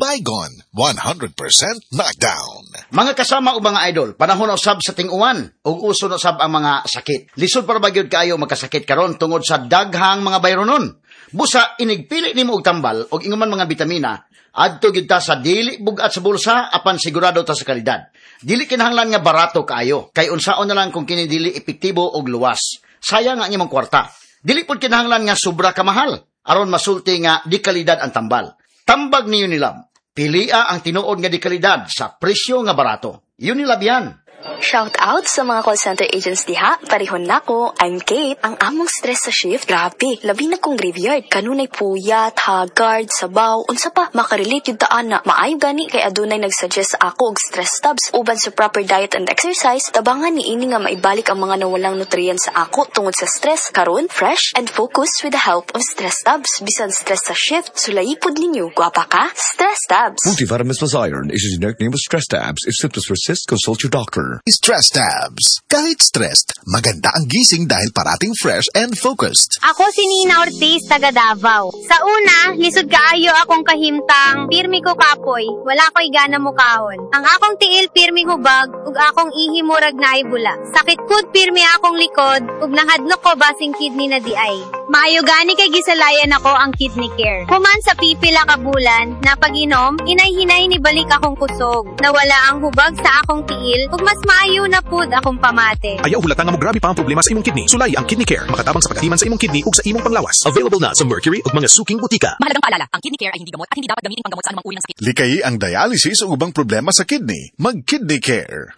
Baygon, 100% knockdown. Mga kasama o mga idol, panahon na usab sa ting-uwan ug uso na usab ang mga sakit. Lisod para ba gyud kaayo magkasakit karon tungod sa daghang mga bayronon. Busa inigpili nimo og tambal og ingon man mga bitamina, adto gyud ta sa dili bug-at sa bulsa apan sigurado ta sa kalidad. Dili kinahanglan nga barato kaayo, kay unsaon na lang kung kini dili epektibo og luwas. Sayang ang imong kwarta. Dili pud kinahanglan nga sobra ka mahal aron masulti nga di kalidad ang tambal. Tambag ni Unilab. Pilia ang tinuod nga di kalidad sa presyo nga barato. Unilab yan. Shout out sa mga call center agents diha. Parihon nako. I'm Kate. Ang among stress sa shift, grabe. Labi na kung graveyard. Kanunay puyat, haggard, sabaw, unsa pa. Makarelate gyud ta ana. Maayo gani kay adunay nagsuggest sa ako og Stress Tabs. Uban sa proper diet and exercise, tabangan ni ini nga maibalik ang mga nawalang nutrients sa ako tungod sa stress. Karon, fresh and focus with the help of Stress Tabs. Bisan stress sa shift, sulayi pud ninyo. Gwapa ka? Stress Tabs. Multivitamins plus iron is a generic name of Stress Tabs. If symptoms persist, consult your doctor. Stress Tabs. Kahit stressed, maganda ang gising dahil parating fresh and focused. Ako si Nina Ortiz, taga Davao. Sa una, lisod kaayo akong kahimtang, pirmi ko kapoy, wala ko'y gana mukaon. Ang akong tiil pirmi hubag, ug akong ihi murag naay bula. Sakit pud pirmi akong likod, ug nahadlok ko basing kidney na diay. Maayo gani kay gisalayan ako ang Kidney Care. Human sa pipila ka bulan, napag-inom, hinay-hinay ni balik akong kusog. Nawala ang hubag sa akong tiil, ug mas maayo na pud akong pamate. Ayaw hulata nga mograbe pa ang problema sa imong kidney. Sulay ang Kidney Care. Makatabang sa pagkatiman sa imong kidney ug sa imong panglawas. Available na sa Mercury ug mga suking butika. Mahalagang paalala, ang Kidney Care ay hindi gamot at hindi dapat gamitin panggamot sa anumang uri ng sakit. Likayi ang dialysis o ubang problema sa kidney. Mag-Kidney Care.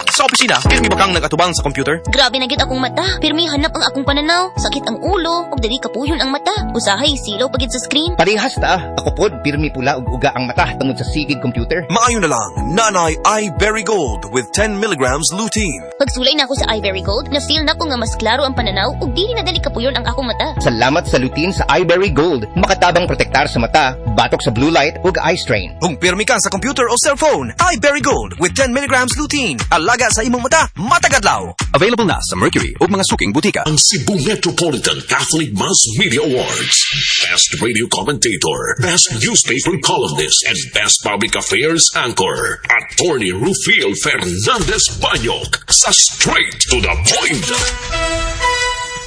Sa opisina, pirmi ba kang nagatubang sa computer? Grabe na gyud akong mata. Pirmi hanap ang akong pananaw. Sakit ang ulo, ug dali kapuyon ang mata. Usahay silaw pa gyud sa screen. Parehas ta. Ako pod, pirmi pula ug uga ang mata tungod sa sigeg computer. Maayo na lang, Nanay iBerry Gold with 10 milligrams lutein. Pagsulay na ako sa iBerry Gold, na-feel na ko nga mas klaro ang pananaw ug dili na dali kapuyon ang akong mata. Salamat sa lutein sa iBerry Gold. Makatabang protektar sa mata, batok sa blue light ug eye strain. Kung pirmi ka sa computer o cellphone, iBerry Gold with 10 milligrams lutein. Alaga sa imong mata, matagadlaw. Available na sa Mercury ug mga suking butika. Ang Cebu Metropolitan Catholic Mass Media Awards. Best Radio Commentator, Best Newspaper Columnist, and Best Public Affairs Anchor. Attorney Rufil Fernandez Banyok sa Straight to the Point.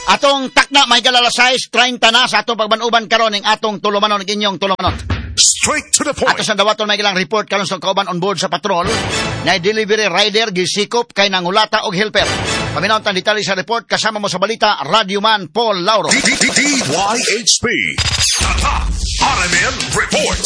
Atong takna may alas 6:30 na sa atong pagbanuban karon ning atong tulumanon ug inyong tulumanon. Straight to the point. Ato sa dawaton may ilang report karon sa kauban on board sa patrol na delivery rider gisikop kay nangulata og helper. Paminaw tang detalye sa report kasama mo sa balita Radyoman Paul Lauro. DYHP. Tatak RMN Report.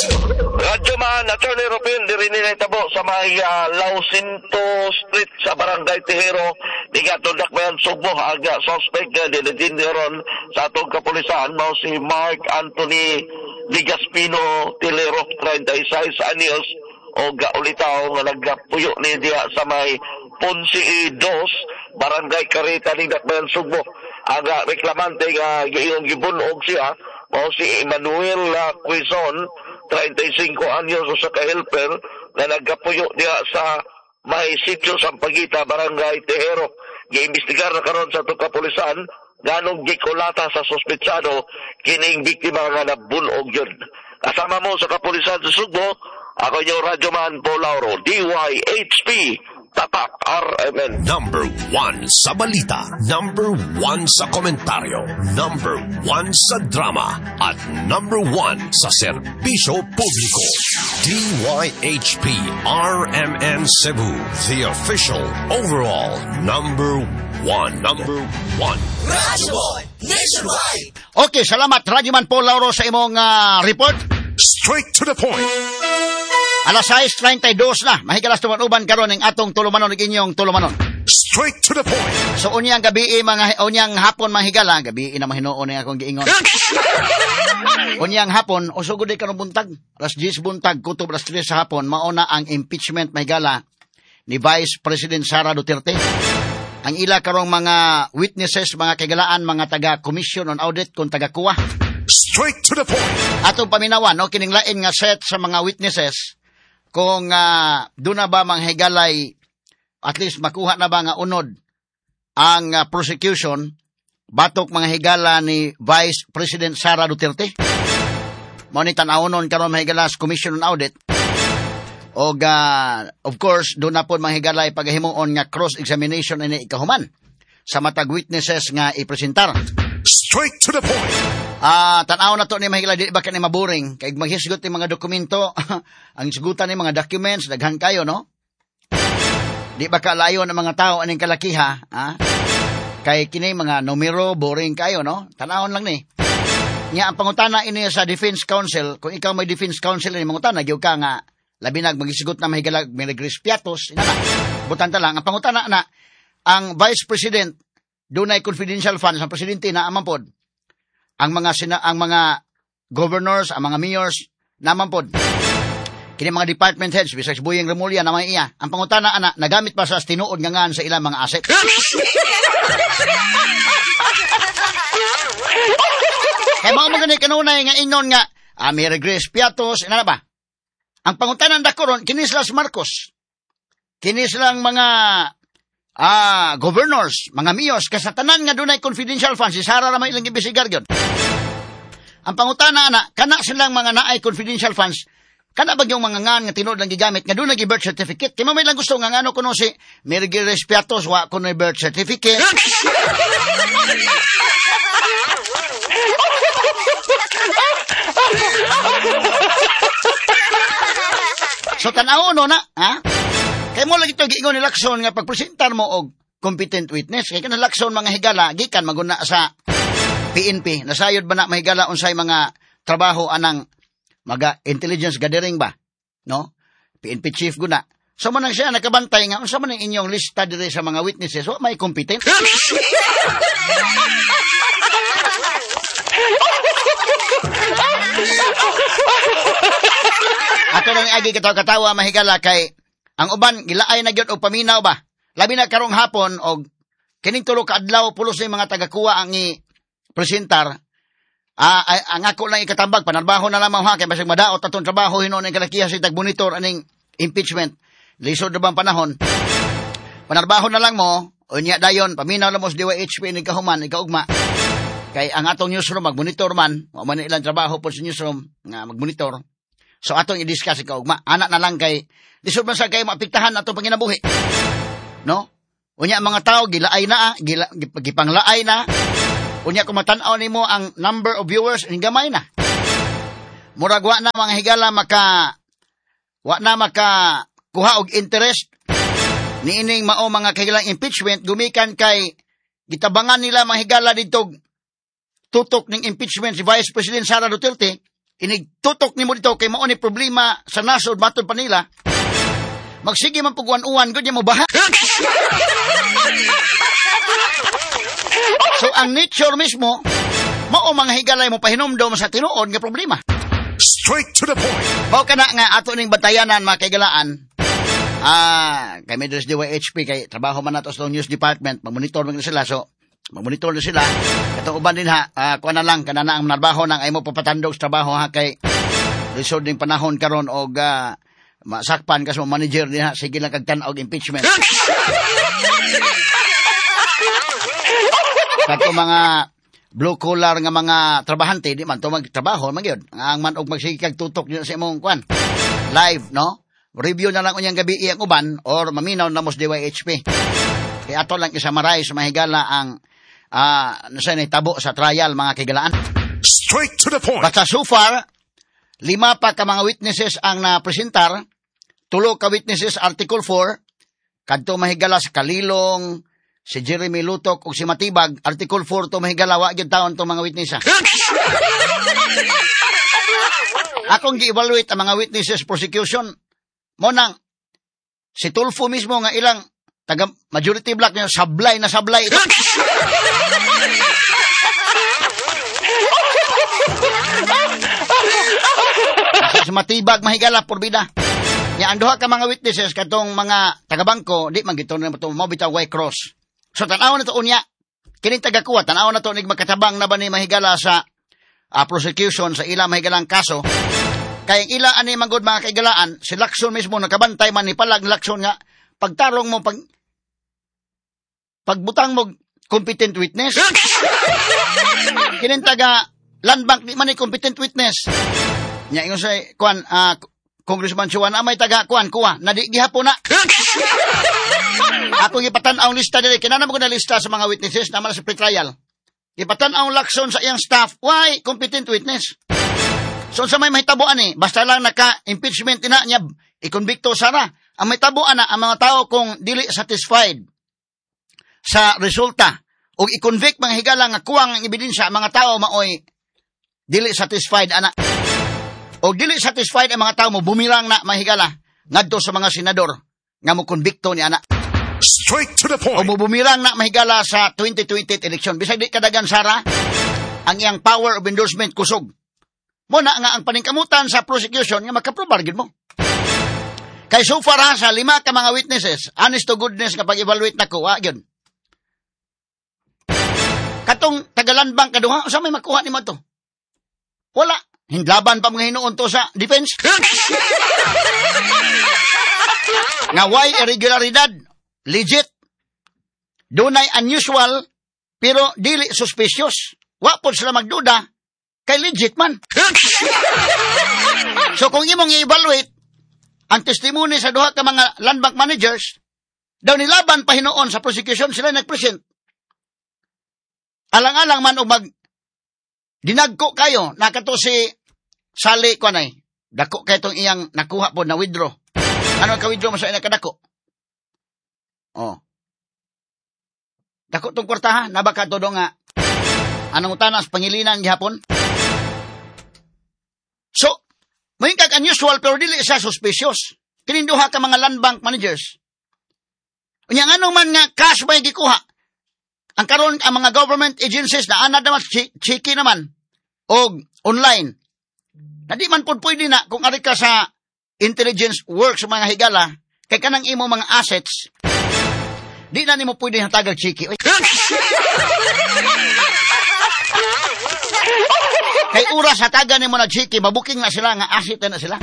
Radyo man, Attorney Rupin, diri nila itabo sa may Lausinto Street sa Barangay Tejero. Di nga Dakbayan Sugbo, ang suspect nga dinidin ron sa atong kapulisan, mao si Mark Anthony Ligaspino Tilero, 36 anyos, o ulitaw nga nagpuyo ni diha sa may Ponce 2, Barangay Carita ning Dakbayan Sugbo. Ang reklamante nga giiyong gibunog siya, mao si Emmanuel Quezon, 35 anyos, usa ka helper nga nagkapuyo diha sa may sitio Sampaguita, Barangay Tejero. Giimbestigar na karon sa atong kapulisan nganong gikulata sa suspetsado kining biktima nga nabunog yun. Kasama mo sa kapulisan sa Sugbo, ako inyong Radyoman Paul Lauro, DYHP, Tatak RMN. Number 1 sa balita, number 1 sa komentaryo, number 1 sa drama, at number 1 sa serbisyo publiko. DYHP RMN Cebu, the official overall number 1. Number 1. Radyo Boy Nationwide. Okay, salamat Radyoman Paul Lauro sa imong report. Straight to the point. Alas 6:32 na. Mahigalas tumanuban karon ning atong tulumanon ug inyong tulumanon. Straight to the point. So unyang gabi mga unyang hapon mga higala, gabi na mahinuon ni akong giingon. Unyang hapon o sugod karon buntag, alas 10 buntag kutob alas 3 sa hapon mauna ang impeachment mahigala ni Vice President Sara Duterte. Ang ila karong mga witnesses, mga kaigalaan, mga taga Commission on Audit kung taga kuwa. Straight to the point. Atong paminawan, no, kining lain nga set sa mga witnesses kung doon na ba manghigalay at least makuha na ba nga unod ang prosecution batok mga higala ni Vice President Sara Duterte. Mao ni tan-awonon karon mga higala sa Commission on Audit. Og of course, doon na po mga higala pagahimuon nga cross-examination ini ikahuman sa matag witnesses nga ipresentar. Straight to the point. Tan-aw na to ni mga higala, di ba kani maboring kay maghisgot ni mga dokumento, ang hisgutan ni mga documents daghan kayo, no? Di ba kalayo ng mga tao aning kalakiha, ha? Kay kini mga numero boring kayo, no? Tan-awon lang ni. Nya ang pangutana ini sa Defense Council, kung ikaw may Defense Council ini mangutana gyud ka nga labi nag magisgot na mahigala Mary Grace Piatos, ina na. Butan ta lang ang pangutana na ang Vice President dunay confidential funds ang presidente na aman pod. Ang mga ang mga governors, ang mga mayors naman pod. Kini mga department heads bisag Buyeng Remulla na may iya. Ang pangutana ana nagamit pa sa tinuod nga ngan sa ilang mga asset. Kay mao man gani kanunay nga ingon nga Mary Grace Piatos, ina na ba? Ang pangutanan dako ron kini sila Marcos. Kini silang mga governors, mga mayors, kasi tanan nga dunay confidential funds, si Sara ra may ilang gibisigar gyud. Ang pangutana ana, kana silang mga naay confidential funds, kana ba yung mga ngan nga tinuod lang gigamit nga dunay birth certificate? Kay may lang gusto nga ngano kuno si Mary Grace Piatos wa kuno birth certificate. So tan-aw no na, ha? Kay mo lagi to giingon ni Lacson nga pagpresentar mo og competent witness. Kay kanang Lacson mga higala gikan maguna sa PNP. Nasayod ba na mahigala unsay mga trabaho anang maga intelligence gathering ba, no? PNP chief guna. So man siya nakabantay nga unsa man ang inyong lista diri sa mga witnesses, wa may competent. Ato lang agi katawa-katawa mahigala kay ang uban gilaay na gyud og paminaw ba. Labi na karong hapon og kining tulo ka adlaw pulos ni mga tagakuha ang i-presentar. Ang ako lang ikatambag panarbaho na lamang ha kay basig madaot atong trabaho hinuon ang kalakiha sa tag-monitor aning impeachment. Lisod na bang panahon? Panarbaho na lang mo unya dayon paminaw lang mo sa DYHP ni kahuman ikaugma. Kay ang atong newsroom magmonitor man, wa man ilang trabaho po sa newsroom nga magmonitor. So atong i-discuss ikaugma. Anak na lang kay lisod man sa kay maapektahan atong panginabuhi. No? Unya ang mga tao gilaay na, gipanglaay na. Unya kung matan-aw nimo ang number of viewers gamay na. Murag wa na mga higala maka wa na maka kuha og interest niining mao mga kahigalang impeachment gumikan kay gitabangan nila mga higala didto tutok ning impeachment si Vice President Sara Duterte. Inig tutok nimo dito kay mao ni problema sa nasod matod pa nila. Magsige man pug-uwan-uwan gud mo baha. So ang nature mismo mao mga higalay mo pahinumdom sa tinuod nga problema. Straight to the point. Mao kana nga ato ning batayanan mga kahigalaan. Kay diri sa DYHP kay trabaho man nato sa news department, magmonitor man sila, so magmonitor na sila. Katong uban din ha, kuan na lang kana na ang trabaho nang ay mo papatandog sa trabaho ha kay lisod ning panahon karon og masakpan ka sa manager din ha, sige lang kag tan-aw og impeachment. Kato mga blue collar nga mga trabahante di man to magtrabaho man gyud. Ang man og magsige kag tutok din sa imong kuan. Live, no? Review na lang unyang gabi ang uban or maminaw na mo sa DYHP. Kaya ato lang isummarize mahigala ang nasa nahitabo sa trial mga kahigalaan. Straight to the point. Basta so far, 5 pa ka mga witnesses ang napresentar. 3 ka witnesses Article 4, kadto mahigala sa Kalilong, si Jeremy Lutok ug si Matibag, Article 4 to mahigala wa gyud taon to mga witness. Akong gi-evaluate ang mga witnesses prosecution. Mo nang si Tulfo mismo nga ilang taga majority block niya sablay na sablay ito. Sa Matibag mahigala porbida. Nya ang duha ka mga witnesses katong mga taga-bangko di man gito na to mo bitaw white cross. So tan-aw na to unya kining tagakuha tan-aw na to nig makatabang na ba ni mahigala sa prosecution sa ila mahigalang kaso. Kay ang ila ani manggod mga kaigalaan si Lacson mismo nakabantay man ni palag Lacson nga pagtarong mo pagbutang mo competent witness. Kining taga Land Bank di man ni competent witness. Nya ingon sa kuan Congressman Chua na may taga kuan kuha na di gihapon na. Ako gipatan-aw lista diri, kinahanglan mo ko na lista sa mga witnesses naman sa pre-trial. Gipatan-aw Lacson sa iyang staff, why competent witness. So sa may mahitabo ani, basta lang naka-impeachment ina niya, ikonbikto sara. Ang mahitabo ana ang mga tao kung dili satisfied sa resulta o i-convict mga higala nga kuwang ang ebidensya, ang mga tao maoy dili satisfied ana. O dili satisfied ang mga tao mo bumirang na mga higala ngadto sa mga senador nga mo konbikto ni ana. Straight to the point. O mo bumirang na mahigala sa 2028 election. Bisag di kadagan sara, ang iyang power of endorsement kusog. Mo na nga ang paningkamutan sa prosecution nga makaprobar gid mo. Kay so far ha, sa 5 ka mga witnesses, honest to goodness nga pag-evaluate nako, wa gyud. Katong tagalan bank kaduha, usa may makuha nimo to? Wala. Hindlaban pa mga hinuon to sa defense. Nga why irregularidad? Legit. Dunay unusual, pero dili suspicious. Wa pod sila magduda, kay legit man. So kung imong i-evaluate ang testimony sa duha ka mga land bank managers, daw nilaban pa hinuon sa prosecution sila nagpresent. Alang-alang man og mag dinagko kayo, nakato si Sally kuanay, dako kay tong iyang nakuha po na withdraw. Ano ka withdraw mo sa iyang kadako? Oh. Dako tong kwarta ha, nabaka to do nga anong utanas Pangilinan gihapon. So, may kag unusual pero dili siya suspicious. Kining duha ka mga land bank managers. Unya ngano man nga cash may gikuha? Ang karon ang mga government agencies na anad naman chiki naman og online. Na di man pud pwede na kung ari ka sa intelligence work sa mga higala kay kanang imo mga assets di na nimo pwede hatagag chiki. Oy. Kay oras hatagan nimo na chiki, mabuking na sila nga asset na sila.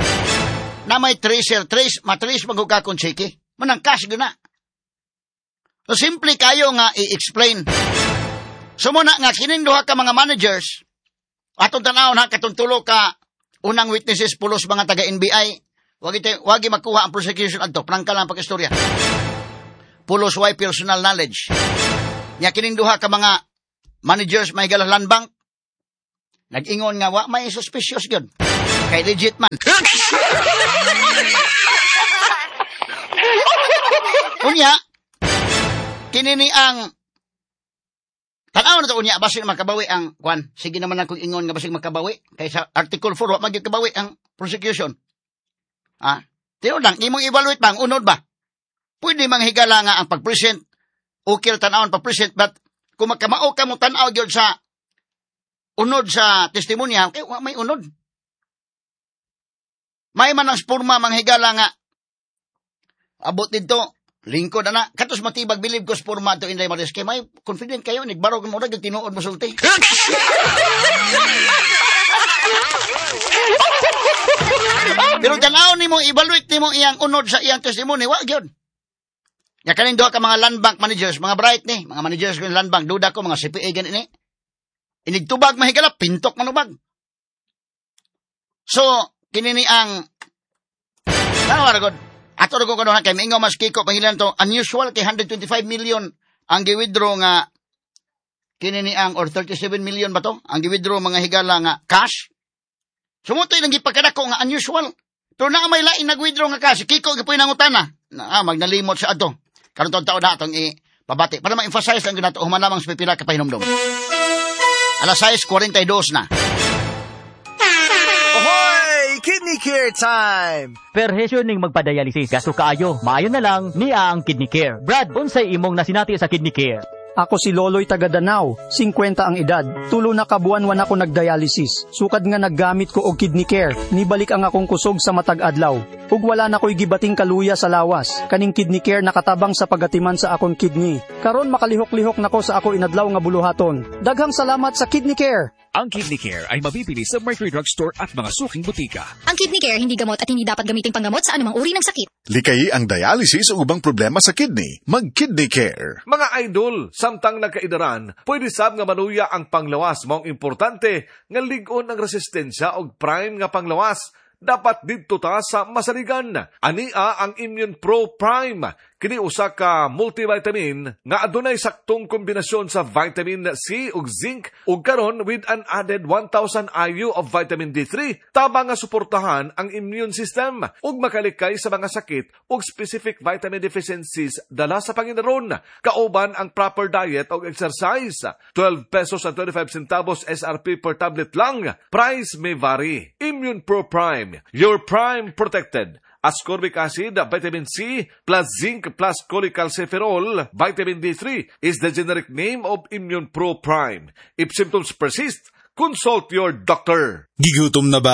Na may tracer, trace, matrace magug ka kung chiki. Manang cash gyud na. So simple kayo nga i-explain. So muna nga kining duha ka mga managers, atong tan-awon ha, katong tulo ka unang witnesses pulos mga taga NBI, wagi makuha ang prosecution adto, prangka lang pag-istorya. Pulos way personal knowledge. Nya kining duha ka mga managers may galas land bank, nag-ingon nga wa may suspicious gyud. Kay legit man. Unya kinini ang tan-aw na to unya basin makabawi ang kwan. Sige naman akong ingon nga basin makabawi kay sa Article 4 wa magyud kabawi ang prosecution. Ah, tinuod lang imong evaluate ba ang unod ba? Pwede manghigala nga ang pag-present, okay ra tan-awon pag-present, but kung magkamao ka mo tan-aw gyud sa unod sa testimonya, kay wa may unod. May man ang spurma manghigala nga abot didto lingkod ana katos matibag bilib ko spurma to Inday Maris kay may confident kayo nigbarog mo ra gyud tinuod mo sulti. Pero tan-aw nimo evaluate nimo iyang unod sa iyang testimony wa gyud. Nya kaning duha ka mga land bank managers, mga bright ni, mga managers ng land bank, duda ko mga CPA gani ni. Inigtubag mahigala pintok manubag. So kini ni ang tanaw ra gud. Ato ra ko kanon kay mingaw mas Kiko Pangilinan to unusual kay 125 million ang gi-withdraw nga kini ni ang or 37 million ba to ang gi-withdraw mga higala nga cash. Sumutoy nang gipagkadako nga unusual. Pero naa may lain nag-withdraw nga cash. Kiko gipuy nangutana. Na magnalimot sa ato. Karon taon na atong ipabati para ma-emphasize lang gyud nato human lamang sa pipila ka pahinumdom. Alas 6:42 na. Ahoy! Kidney Care time! Perhesyo ning magpadialysis. Gasto kaayo. Maayo na lang niya ang Kidney Care. Brad, unsay imong nasinati sa Kidney Care? Ako si Loloy taga Danao, 50 ang edad. Tulo na ka buwan wan ako nagdialysis. Sukad nga naggamit ko og Kidney Care, nibalik ang akong kusog sa matag adlaw. Ug wala na ko'y gibating kaluya sa lawas. Kaning Kidney Care nakatabang sa pagatiman sa akong kidney. Karon makalihok-lihok nako sa ako inadlaw nga buluhaton. Daghang salamat sa Kidney Care. Ang Kidney Care ay mabibili sa Mercury Drug Store at mga suking butika. Ang Kidney Care hindi gamot at hindi dapat gamitin panggamot sa anumang uri ng sakit. Likayi ang dialysis o ubang problema sa kidney. Mag-Kidney Care. Mga idol, samtang nagkaidaran, pwede sab nga maluya ang panglawas. Maong importante nga lig-on ang resistensya og prime nga panglawas. Dapat didto ta sa masaligan. Ania ang Immune Pro Prime. Kini usa ka multivitamin nga adunay saktong kombinasyon sa vitamin C ug zinc ug karon with an added 1000 IU of vitamin D3, tabang nga suportahan ang immune system ug makalikay sa mga sakit ug specific vitamin deficiencies dala sa pangindaron. Kauban ang proper diet ug exercise. 12 pesos and 25 centavos SRP per tablet lang. Price may vary. Immune Pro Prime, your prime protected. Ascorbic acid, vitamin C, plus zinc plus cholecalciferol, vitamin D3 is the generic name of Immune Pro Prime. If symptoms persist, consult your doctor. Gigutom na ba?